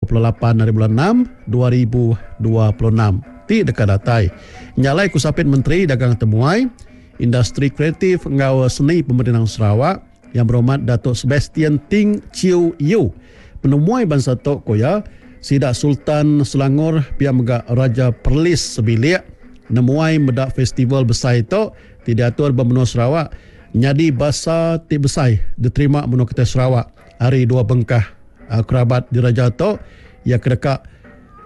28 hari bulan enam 2026 ti deka datai. Nya alai ku Sapit Menteri Dagang Temuai, Industri Kreatif enggau Seni Pemerindang Sarawak, Yang Berhormat Datuk Sebastian Ting Chiew Yew, penemuai bansa tu ku iya, sida Sultan Selangor pia mega Raja Perlis sebilik nemuai meda festival besai tu ti diatur ba menua Sarawak nyadi basa ti besai diterima menua kitai Sarawak ari dua bengkah kerabat diraja tu iya ke deka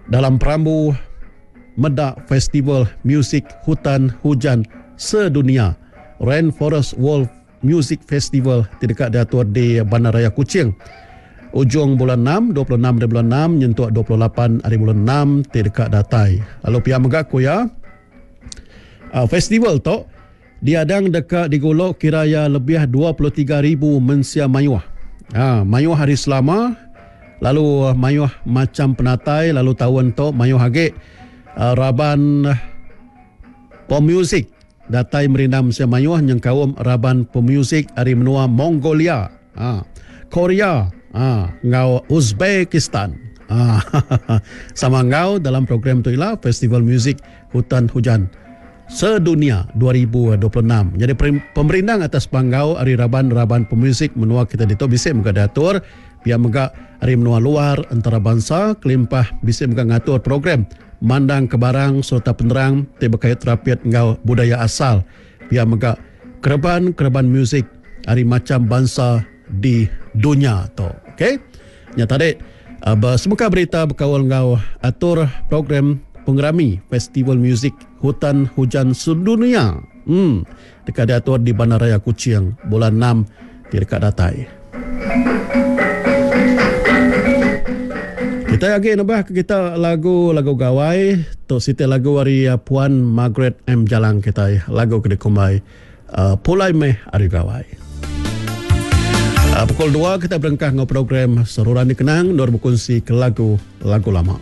dalam perambu meda Festival Muzik Hutan Hujan Sedunia Rainforest World Music Festival ti deka diatur di Bandaraya Kuching ujung bulan enam, 26 hari bulan enam nyentuk 28 hari bulan enam ti deka datai. Lalu pia mega ku iya, festival tu diadang deka digulu kira iya lebih 23 ribu mensia mayuh. Ha, mayuh hari selama lalu mayuh macham penatai lalu taun tu mayuh agi raban pemuzik Datai merindang mensia mayuh nyengkaum raban pemuzik ari menua Mongolia, Korea enggau Uzbekistan. Sama enggau dalam program tu ila Festival Muzik Hutan Hujan Sedunia 2026. Nyadi pemerindang atas panggau ari raban-raban pemuzik menua kita ditu bisi mega diatur pia mega ari menua luar entarabansa kelimpah bisi mega ngatur program mandangka barang sereta penerang ti bekait rapit enggau budaya asal, pia mega kereban-kereban muzik ari macham bansa di dunya tu. Ok. Nya tadi besemeka berita bekaul enggau atur program pengerami Festival Muzik Hutan Hujan Sedunia. Em deka diatur di Bandaraya Kuching bulan enam ti deka datai. Kitai agi nebah ke kita lagu-lagu gawai tu siti lagu ari Puan Margaret M Jalang kitai lagu ke dikumbai Pulai Meh Ari Gawai. Pukul dua kitai berengkah enggau program Seruran Dikenang endur bekunsi ke lagu-lagu lama.